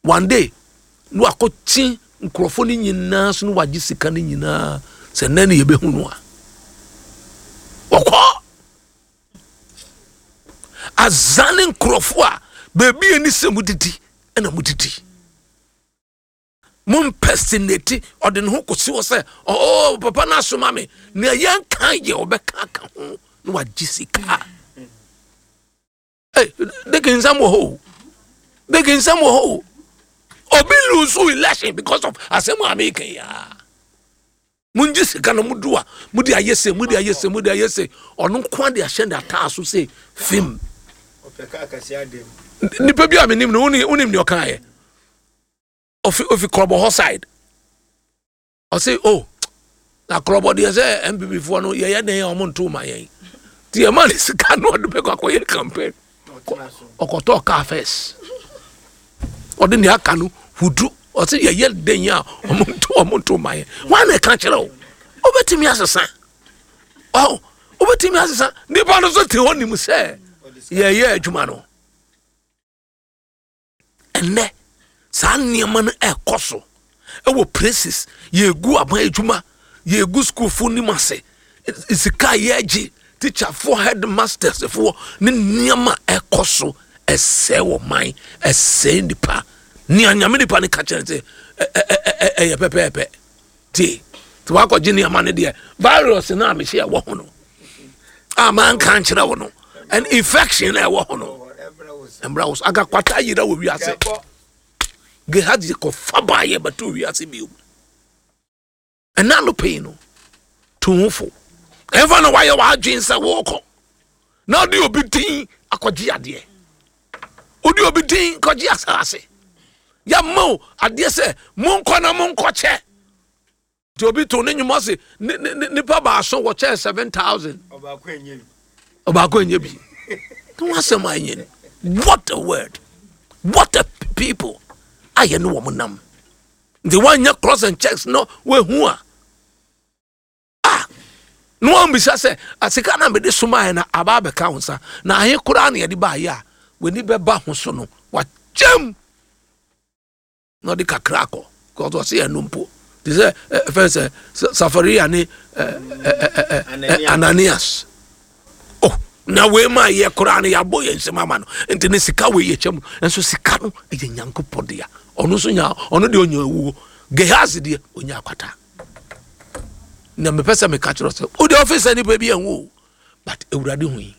One day na wakɔkye nkurɔfoɔ no nyinaa so na wagye sika no nyinaa sɛ nnɛ ne yɛbɛhu no a ɔkɔ azane nkurɔfoɔ a baabi a ɛni sɛ mudidi ɛna mudidi mo impersonate. Ɔde ne ho kɔsi hɔ sɛ, "Oh, papa no asoma me." Nea yɛnka yɛ ɔbɛka ka ho na wagye sika. Hey, deke nsɛm wɔ hɔ o, deke nsɛm wɔ hɔ o. Obi lose election because of asɛm a meka yi a mongye sika no mudu a mode ayɛ se, mode ayɛ se, mode ayɛ se. Ɔno nko de ahyɛ ne ataa so sɛ fim. Nipa bi a menim no, wonim deɛ ɔkaeɛ? Ofi Krɔbɔ hɔ side. Ɔse, "Oh, na Krɔbɔ deɛ, sɛ NPP foɔ no yɛyɛ den a ɔmo nto ma yɛn, nti yɛma ne sika no ɔde bɛkɔ akɔyɛ campaign." Ɔkɔtɔɔ car first, ɔde nea aka no hudu. Ɔse yɛyɛ den a ɔmo nto ma yɛn. Wɔn na ɛka kyerɛ o, wobɛtumi asesa ɔ, wobɛtumi asesa. Nipa no nso te hɔ nim sɛ yɛyɛ adwuma no. Ɛnɛ saa nneɛma no ɛkɔ so ɛwɔ places. Yɛgu aban adwuma, yɛgu sukuufoɔ nim ase, sika a yɛgye teacherfoɔ, headmastersfoɔ ne nneɛma ɛkɔ so ɛsɛe wɔ man, ɛsɛe nipa. Nea Nyame nipa no ka kyerɛ sɛ ɛyɛ pɛpɛɛpɛ. Tie, nti wakɔgye nneɛma no deɛ, virus no a mehyɛ ɛwɔ ho no a manka nkyerɛ wo no, and infection na ɛwɔ ho no mmra wo so. Aga kwata yera wɔ wiase. Gehazi kɔfa baayɛ bɛto wiase bio. Ɛna no pɛi no to ho fo. Ɛmfa na wayɛ w'adwen sɛ wɔrekɔ na wode obi din akɔgye adeɛ, wode obi din kɔgye asase. Yɛma wo adeɛ sɛ monkɔ na monkɔkyɛ. Nti obi to ne nnwuma se nipa 7 wɔkyɛɛ 7,000, ɔbaako nyɛ bi ne ho asɛm a ɛnyɛ ni. What a word, what a people a yɛne wɔn nam. Nti woanyɛ cross and checks no, woahu a ah, na wɔmbisa sɛ asika na mede somaeɛ na aba abɛka wo nsa na ahe koraa na yɛde baayɛ a w'ani bɛba ho so no, wakyɛm na ɔde kakra akɔ because ɔse ɛno mpo te sɛ fɛn sɛ Safaria ne Ananias. Oh, na wei ma yɛ koraa no yɛabɔ yɛn nsɛm ama no. Nti ne sika wei yɛ kyɛm nso sika no ɛyɛ Nyankopɔn dea. Ɔno nso nya, ɔno deɛ ɔnya awuo. Gehazi deɛ ɔnya akwata. Na mepɛ sɛ meka kyerɛ sɛ wode ɔfisa nipa bi ɛnwo o, but Awurade hu yi.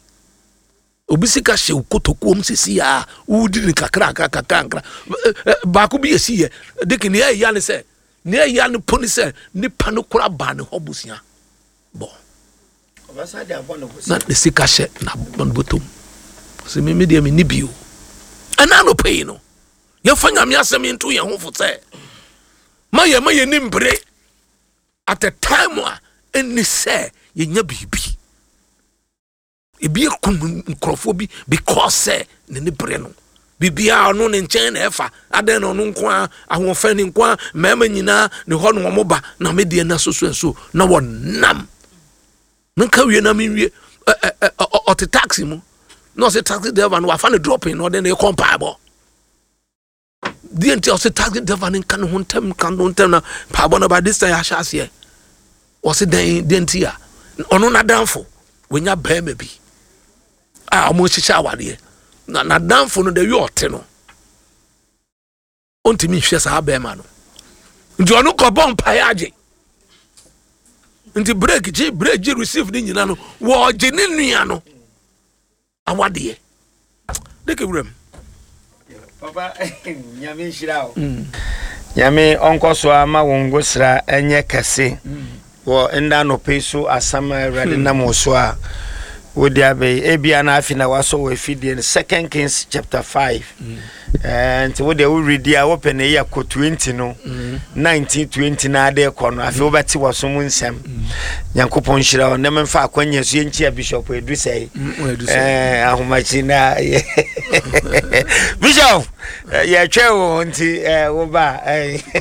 Obi sika hyɛ wo kotokuom sisi a wodi ne kakra kakra kakra nkra baako bi esi yɛ de nea ɛya ne sɛ, nea ɛya ne po ne sɛ nipa no kora baa ne hɔ busua bɔ na ne sika hyɛ na ne bɔtɔm sɛ mímí deɛ mi ni bi o. Ɛna anɔpɛ yi no, yɛfa Nyame asɛm yi nto yɛn ho fo sɛ ma yɛ ni mbere at a time a ɛnni sɛ yɛnya biribi. Ebi ekum nkurɔfoɔ bi because sɛ ne ne bere no biribiara ɔno ne nkyɛn na ɛfa adan na ɔno nko a ahoɔfɛ ne nko a mmarima nyinaa ne hɔ na wɔn ba na me deɛ na soso nso na wɔnam. Menka wie na menwie. ɛ ɛ ɛ ɔte taxi mu na ɔsɛ taxi driver no wafa ne dropping na ɔde ne kɔ mpaebɔ deɛ. Nti ɔsɛ taxi driver no nka ne ho ntɛm, nka ne ho ntɛm na mpaebɔ no ba. This time ahyɛ aseɛ. Ɔsɛ dɛn deɛ nti a ɔno n'adamfo wɔnya bɛrima bi a wɔn hyehyɛ awadeɛ na n'adamfo no de wi ɔte no ɔntumi nhwɛ saa bɛrima no. Nti ɔno kɔbɔ mpaeɛ agye. Nti break gye, break gye, receive ne nyina no, wɔgye ne nua no awadeɛ de ke wuram. Papa, Nyame nhyira wo. Nyame ɔnkɔ so ama wo ngosra ɛnyɛ kɛse wɔ nda anɔpɛ yi so. Asɛm a Awurade nam wo so a wode abɛyi, ebia na afi na wasɔ wɔ afidie no, Second Kings chapter 5. Nti wode woredi a wopɛ na ɛyɛ kɔ 20 no, 19, 20 na ade kɔ no. Afei wobɛte wɔ so mu nsɛm. Nyankopɔn nhyira wo. Na memfa akwanya so yɛnkyia Bishop ɛdu sɛe ahomakyi na Bishop yɛtwɛ wo nti woba.